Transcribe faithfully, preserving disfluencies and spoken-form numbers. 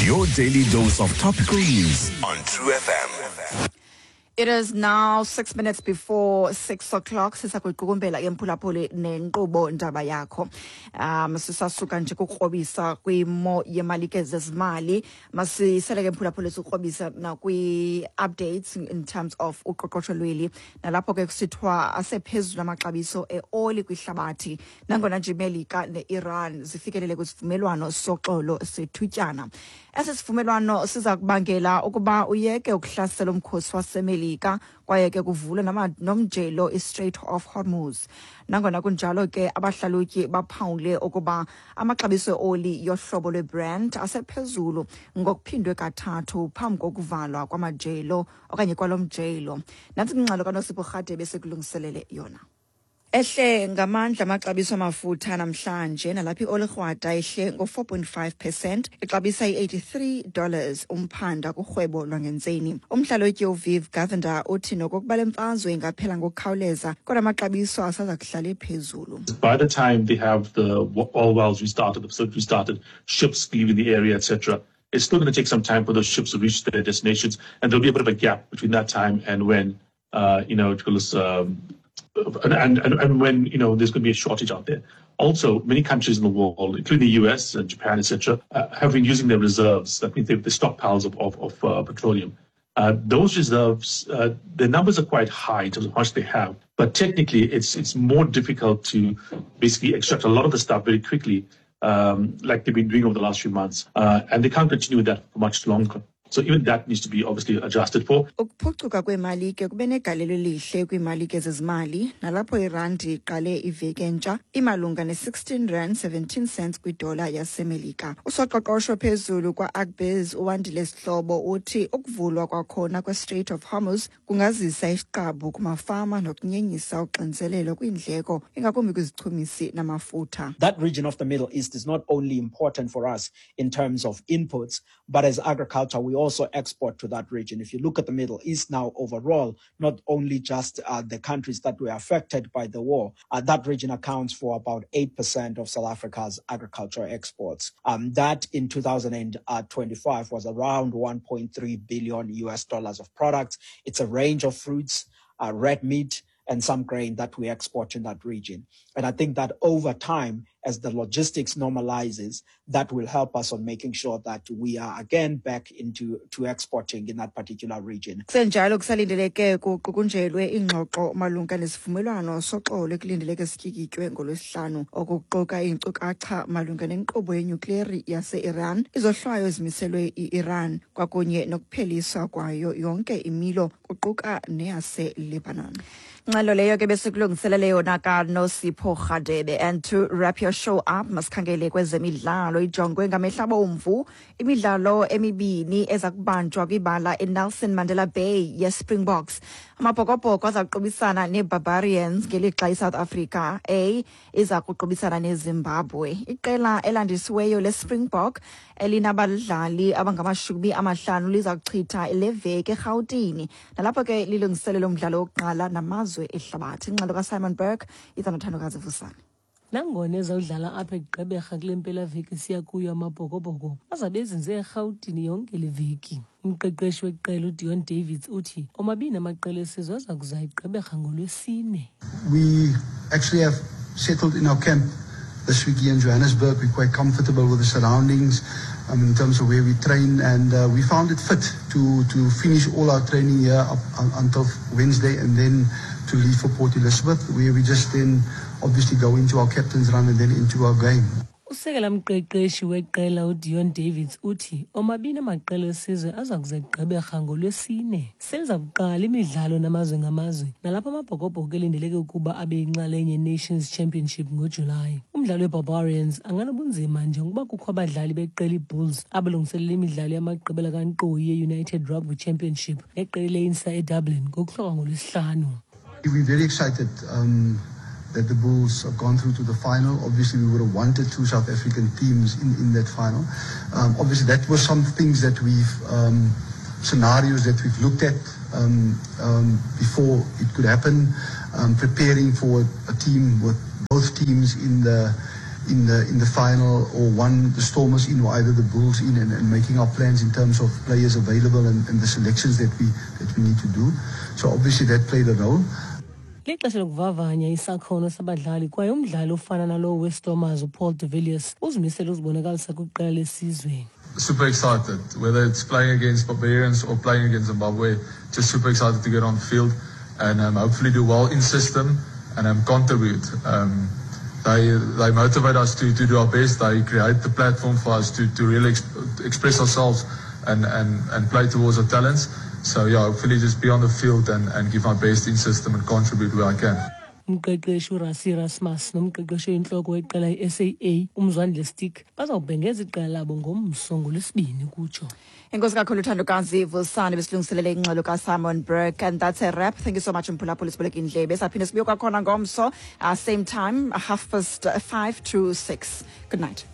Your daily dose of topical news on True F M. It is now six minutes before six o'clock. Sisakuyiqukumbela ke, mphulaphuli, nenkqubo Ndaba Yakho. Um sisasuka nje kukrobisa kwimo yemalike zezimali. Masisele ke, mphulaphuli, sikrobisa nakwi-updates in terms of uqoqosho lweli. Nalapho ke kusithiwa asephezulu amaxabiso eoli kwihlabathi, nangona nje iMelika ne-Iran zifikelele kwisivumelwano soxolo sethutyana. Esi sivumelwano siza kubangela ukuba uyeke ukuhlasela umkhosi waseMelika, kwaye ke kuvulwe nomjelo iStrait of Hormuz. Nangona kunjalo ke, abahlalutyi baphawule ukuba amaxabiso eoli yohlobo lweBrent asephezulu ngokuphindwe kathathu phambi kokuvalwa kwamajelo okanye kwalo mjelo. Nantsi ingxelo kaNosipho Rhadebe sekulungiselele yona. Ehle ngamandla amaxabiso amafutha namhlanje, nalapho ioli krwada ehle ngo-four point five percent, ixabisa i-eighty-three dollars umphanda kurhwebo lwangentseni. Umhlalutyi uViv Govender uthi nokokuba le mfazwe ingaphela ngokukhawuleza, kodwa amaxabiso asaza kuhlala ephezulu. By the time they have the oil wells restarted, the facility restarted, ships leaving the area, et cetera, it's still going to take some time for those ships to reach their destinations, and there'll be a bit of a gap between that time and when, uh, you know, um, and, and, and when you know there's going to be a shortage out there. Also, many countries in the world, including the U S and Japan, et cetera, uh, have been using their reserves. That means the stockpiles of, of, of uh, petroleum. Uh, those reserves, uh, the numbers are quite high in terms of how much they have, but technically it's it's more difficult to basically extract a lot of the stuff very quickly, um, like they've been doing over the last few months, uh, and they can't continue with that for much longer. So even that needs to be obviously adjusted for. Ukuphucuka kweemali ke kube negalelo elihle kwiimalike zezimali, nalapho irandi iqale iveki entsha imalunga ne-sixteen rand seventeen cents kwidola yaseMelika. Usoqoqosho phezulu kwa-Agbiz uWandile Sihlobo uthi ukuvulwa kwakhona kwe-Strait of Hormuz kungazisa isiqabu kumafama nokunyenyisa uxinzelelo kwiindleko, ingakumbi kwizichumisi namafutha. That region of the Middle East is not only important for us in terms of inputs, but as agriculture, we also export to that region. If you look at the Middle East now overall, not only just uh, the countries that were affected by the war, uh, that region accounts for about eight percent of South Africa's agricultural exports. Um, that in twenty twenty-five was around one point three billion U S dollars of products. It's a range of fruits, uh, red meat, and some grain that we export in that region. And I think that over time, as the logistics normalizes, that will help us on making sure that we are again back into to exporting in that particular region. Kusenjalo, kusalindeleke kuqukunjelwe ingxoxo malunga nesivumelwano soxolo ekulindeleke sityikitywe ngolwesihlanu, okuquka iinkcukacha malunga nenkqubo yenyukleri yase-Iran, izohlwayo ezimiselwe i-Iran, kwakunye nokupheliswa kwayo yonke imilo, kuquka neyase-Lebanon. Ngxelo leyo ke besikulungiselele yona kaNosipho Rhadebe. And to wrap your show up, masikhangele kwezemidlalo. Ijongwe ngamehla abomvu imidlalo emibini eza kubanjwa kwibala eNelson Mandela Bay yeSpringboks. Amabhokobhoko aza kuqubisana neBarbarians, ngelixa iSouth Africa A iza kuqubisana neZimbabwe. Iqela elandisiweyo leSpringbok elinabadlali abangamashumi amahlanu liza kuchitha le veki eRhawutini, nalapho ke lilungiselelo umdlalo wokuqala namazwe ehlabathi. Ingxelo kaSimon Burke iza noThandokazi Vusane. Nangona ezawudlala apha eGqeberha kule mpelaveki siya kuyo, Amabhokobhoko azabe ezinze eRhawutini yonke le veki. Umqeqeshi weqela uDeon Davids uthi omabini amaqela esizwe aza kuza eGqeberha ngoLwesine. We actually have settled in our camp this week here in Johannesburg. We're quite comfortable with the surroundings um, in terms of where we train, and uh, we found it fit to, to finish all our training here up un, until Wednesday and then to leave for Port Elizabeth, where we just then obviously go into our captain's run and then into our game. Usekela mqeqeshi weqela uDeon Davids uthi omabini amaqela esizwe aza kuza eGqeberha ngoLwesine. Seliza kuqala imidlalo namazwe ngamazwe, nalapho Amabhokobhoko elindeleke ukuba abe yinxalenye yeNations Championship ngoJulayi. Umdlalo weBarbarians anganobunzima njengokuba kukho abadlali beqela iBulls abalungiselela imidlalo yamagqibela kankqoyi ye-United Rugby Championship neqela leInsa eDublin ngokuhlwa ngolwesihlanu. We're very excited um, that the Bulls have gone through to the final. Obviously, we would have wanted two South African teams in, in that final. Um, obviously, that was some things that we've, um, scenarios that we've looked at um, um, before it could happen, um, preparing for a team with both teams in the in the in the final, or one the Stormers in, or either the Bulls in, and, and making our plans in terms of players available and, and the selections that we that we need to do. So obviously that played a role. Lixesha lokuvavanya isakhono sabadlali kwaye umdlali ofana nalowo weStormers uPaul de Villiers uzimisele uzibonakalisa kwiqela lesizwe. Super excited, whether it's playing against Barbarians or playing against Zimbabwe, just super excited to get on the field and um, hopefully do well in system and um, contribute. Um, they they motivate us to, to do our best. They create the platform for us to, to really exp- express ourselves and, and, and play towards our talents. So yeah, hopefully just be on the field and, and give my best in system and contribute where I can. Umqeqeshi uRassie Erasmus nomqeqeshi oyintloko weqela i-S A A uMzwandile Stick bazawubhengeza iqela labo ngomso ngoLwesibini kutsho. Enkosi kakhulu, Thandokazi Vusani, besilungiselele ingxelo kaSimon Burke. And that's a wrap. Thank you so much, mphulaphuli, sibuleke indlebe. Saphinde sibuye kwakhona ngomso, uh, same time, half past five to six. Good night.